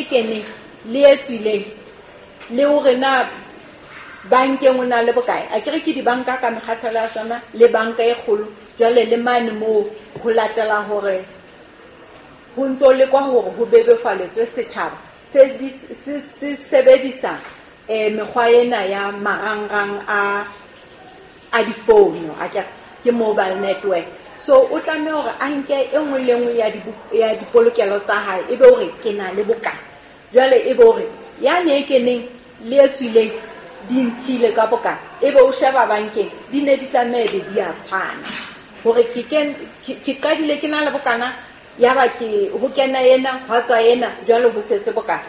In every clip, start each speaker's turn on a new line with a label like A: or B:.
A: keneng le e tswileng, le hore na bankeng o na le bokae. Akere ke dibanka ka mekgahlelo ya tsona le banka e kgolo. Jwale le mane moo ho latela hore ho ntso lekwa hore ho bebofaletswe setjhaba se sebedisa mekgwa ena ya marangrang a difounu, akere ke mobile network. So o tlameha hore a nke e nngwe le nngwe ya dipolokelo tsa hae, ebe hore ke na le bokae. Jwale ebe hore yane e keneng le e tswileng di ntshile ka bokae, ebe o sheba bankeng di ne di tlameha be di a tshwana, hore ke qadile ke na le bokana, yaba ke ho kena ena, hwa tswa ena, jwale ho setse bokae.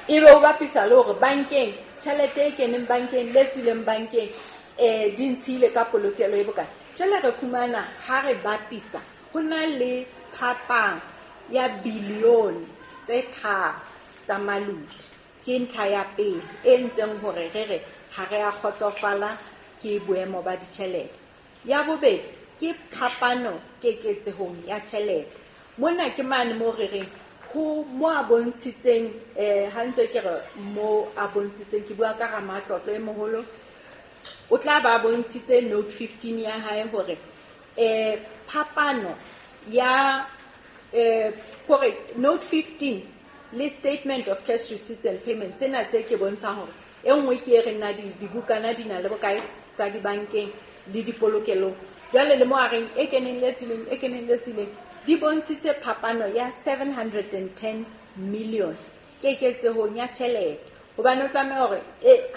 A: Ebe o bapisa le hore bankeng tjhelete e keneng bankeng le tswileng bankeng di ntshile ka polokelo e bokae. Jwale re fumana ha re bapisa ho na le phapang ya bilione tse 3 tsa malodi. Ke ntlha ya pele e ntseng hore re re ha re a kgotsofala ke boemo ba ditjhelete. Ya bobedi ke phapano keketsehong ya tjhelete. Mona ke mane moo re reng ho mo a bontshitseng, ha ntse ke re mo a bontshitseng, ke bua ka ramatlotlo e moholo, o tla ba bontshitse note 15 ya hae hore phapano ya hore note 15 le statement of cash receipts and payments tsena tse ke bontshang hore e nngwe ke e reng na dibukana di na le bokae tsa dibankeng le dipolokelong. Jwale le mo a reng e keneng le tswileng, e keneng le tswileng, di bontshitse phapano ya 710 million keketsehong ya tjhelete. Hobane o tlameha hore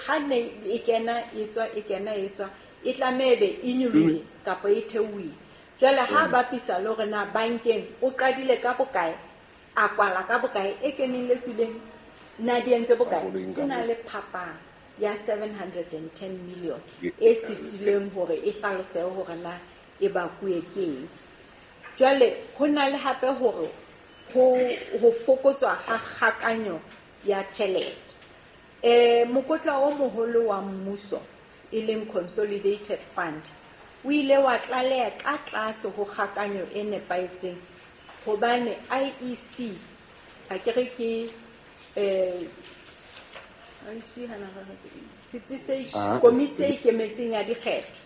A: ha ne e kena e tswa, e kena e tswa, e tlameha ebe e nyolohile kapa e theohile. Jwale ha bapisa le hore na bankeng o qadile ka bokae, a kwala ka bokae, e keneng le tswileng na di entse bokae, ho na le phapang ya 710 million e sitileng hore e hlalosehe hore na e bakuwe ke eng. Jwale ho na le hape hore ho fokotswa ha kgakanyo ya tjhelete. Mokotla o moholo wa mmuso e leng Consolidated Fund o ile wa tlaleha ka tlase ho kgakanyo e nepahetseng, hobane IEC akere ke IEC hana setsi se komiti e ikemetseng ya dikgetho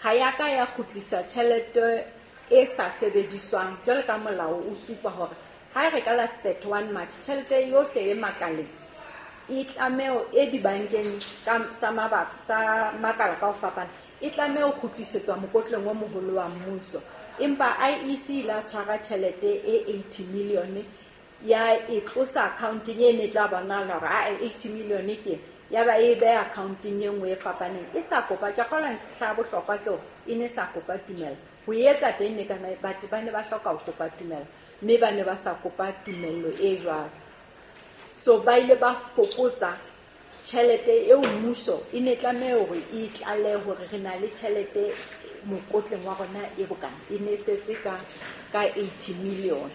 A: ha ya ka ya kgutlisa tjhelete e sa sebediswang. Jwale ka molao o supa hore ha re ka la 31 March tjhelete yohle e makaleng e tlameho e dibankeng tsa mabaka tsa makala ka ho fapana e tlameha ho kgutlisetswa mokotleng o moholo wa mmuso. Empa IEC la tshwara tjhelete e 80 million ya e tlosa accounting e ne tla bonahala hore a 80 million ke ya ba e beha accounting e nngwe e fapaneng e sa kopa. Ke kgolwa ntlha ya bohlokwa ke hore e ne sa kopa tumello ho etsa teng, ne kana batho ba ne ba hloka ho kopa tumello, mme ba ne ba sa kopa tumello e jwalo. So ba ile ba fokotsa tjhelete eo mmuso e ne tlameha hore e tlalehe hore re na le tjhelete mokotleng wa rona e bokana, e ne setse ka 80 million.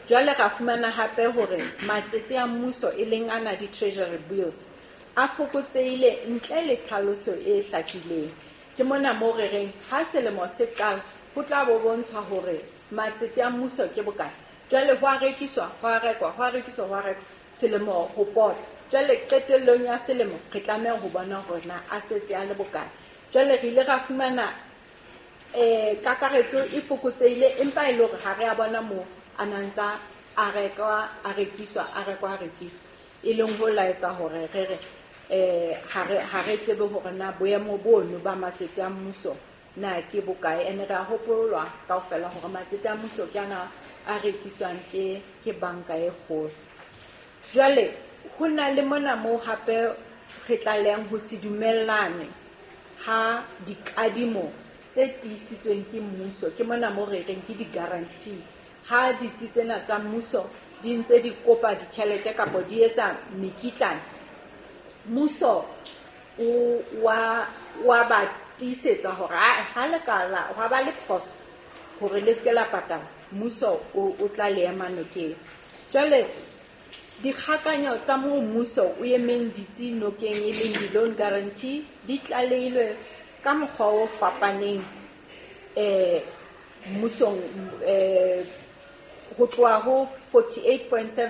A: Jwale ra fumana hape hore matsete a mmuso e leng ana di-treasury bills a fokotsehile ntle le tlhaloso e hlakileng. Ke mona moo re reng ha selemo se qala ho tla bo bontshwa hore matsete a mmuso ke bokae. Jwale ho a rekiswa, ho a rekwa, ho a rekiswa, ho a rekwa selemo ho pota. Jwale qetellong ya selemo re tlameha ho bona hore na a setse a le bokae. Jwale re ile ra fumana kakaretso e fokotsehile, empa e le hore ha re a bona moo a na ntsa a rekwa, a rekiswa, a rekwa, a rekiswa, e leng ho laetsa hore re re ha re tsebe hore na boemo bono ba matsete a mmuso na ke bokae. Ene re a hopolwa kaofela hore matsete a mmuso ke ana a rekiswang ke banka e kgolo. Jwale ho na le mona moo hape re tlalehang ho se dumellane ha dikadimo tse tiisitsweng ke mmuso. Ke mona moo re reng ke di-guarantee. Ha ditsi tsena tsa mmuso di ntse di kopa ditjhelete kapa di etsa mekitlane, mmuso o wa ba tiisetsa hore ha le ka la hwa ba le phoso hore le se ke la patala, mmuso o tla le ema nokeng. Jwale dikgakanyo tsa moo mmuso o emeng ditsi nokeng e leng di-loan guarantee di tlalehilwe ka mokgwa o fapaneng mmusong ho tloha ho 48.7